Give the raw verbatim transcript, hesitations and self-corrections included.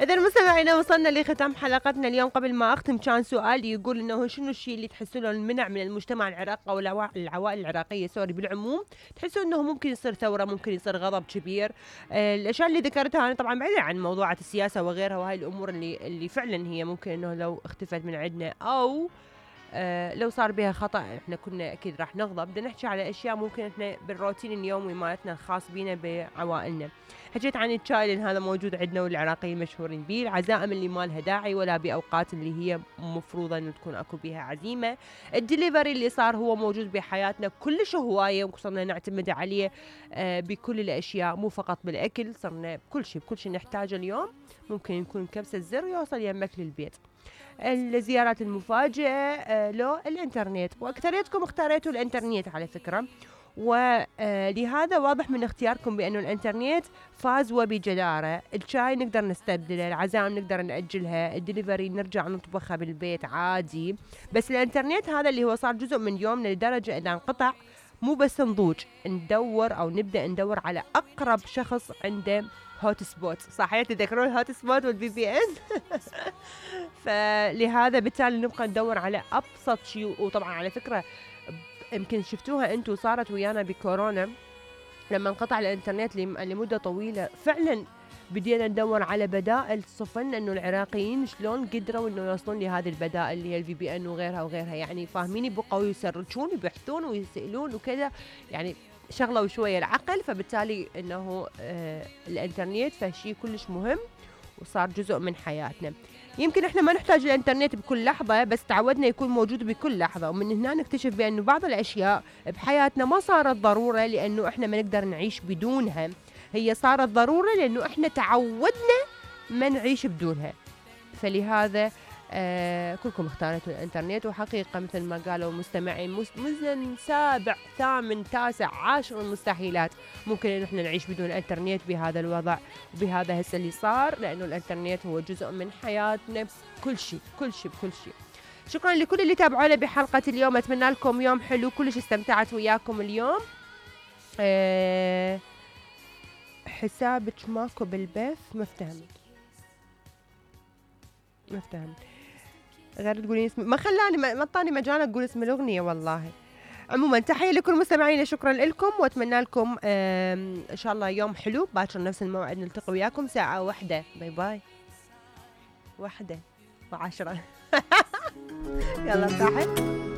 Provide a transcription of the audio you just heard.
إذا مستمعينا وصلنا لختام حلقتنا اليوم. قبل ما أختم كان سؤال يقول إنه شنو الشيء اللي تحسوا له المنع من المجتمع العراقي أو العوائل العراقية سوري بالعموم، تحسوا إنه ممكن يصير ثورة، ممكن يصير غضب كبير. آه الأشياء اللي ذكرتها أنا طبعا بعيدة عن موضوعات السياسة وغيرها، وهاي الأمور اللي اللي فعلا هي ممكن إنه لو اختفت من عندنا أو آه لو صار بها خطأ احنا كنا اكيد راح نغضب. بدنا نحكي على اشياء ممكن احنا بالروتين اليومي مالتنا الخاص بينا بعوائلنا. حكيت عن الشاي لان هذا موجود عندنا والعراقيين مشهورين به، العزائم اللي ما لها داعي ولا باوقات اللي هي مفروضه انه تكون اكو بها عزيمه، الدليفري اللي صار هو موجود بحياتنا كلش هوايه وصرنا نعتمد عليه آه بكل الاشياء، مو فقط بالاكل، صرنا بكل شيء بكل شيء نحتاجه اليوم ممكن يكون كبسه زر يوصل يمك للبيت. الزيارات المفاجئة آه لو الانترنت، واكثريتكم اختاريتوا الانترنت على فكرة، ولهذا واضح من اختياركم بأنه الانترنت فاز وبجدارة. الشاي نقدر نستبدله، العزائم نقدر نأجلها، الدليفري نرجع نطبخها بالبيت عادي، بس الانترنت هذا اللي هو صار جزء من يومنا لدرجة إذا انقطع مو بس نضوج، ندور أو نبدأ ندور على أقرب شخص عنده هوت سبوت. صحيح تذكرون الهوت سبوت والبي بي ان؟ فلهذا بالتالي نبقى ندور على ابسط شيء. وطبعا على فكره يمكن شفتوها انتم صارت ويانا بكورونا لما انقطع الانترنت لمده طويله، فعلا بدينا ندور على بدائل. صفن انه العراقيين شلون قدروا انه يوصلون لهذه البدائل اللي هي الفي بي ان وغيرها وغيرها، يعني فاهميني، بقوا يسرجون ويبحثون ويسالون وكذا، يعني شغله وشويه العقل. فبالتالي انه آه الانترنت فشي كلش مهم وصار جزء من حياتنا. يمكن احنا ما نحتاج الانترنت بكل لحظه، بس تعودنا يكون موجود بكل لحظه، ومن هنا نكتشف بانه بعض الاشياء بحياتنا ما صارت ضروره لانه احنا ما نقدر نعيش بدونها، هي صارت ضروره لانه احنا تعودنا ما نعيش بدونها. فلهذا آه كلكم اختارتوا الانترنت، وحقيقة مثل ما قالوا المستمعين مزن سابع ثامن تاسع عاشر المستحيلات ممكن ان احنا نعيش بدون الانترنت بهذا الوضع وبهذا هسه اللي صار، لانه الانترنت هو جزء من حياتنا بكل شيء كل شيء بكل شيء. شكرا لكل اللي تابعونا بحلقة اليوم، اتمنى لكم يوم حلو، كلش استمتعت وياكم اليوم. آه حسابك ماكو بالبث، ما افتهمت ما افتهمت غير تقولين اسم، ما خلاني ما اعطاني مجال اقول اسم الاغنيه والله. عموما تحيه لكل مستمعينا، شكرا لكم واتمنى لكم ان شاء الله يوم حلو. باكر نفس الموعد نلتقي وياكم ساعه واحده. باي باي. واحده وعشرة. يلا صاحب.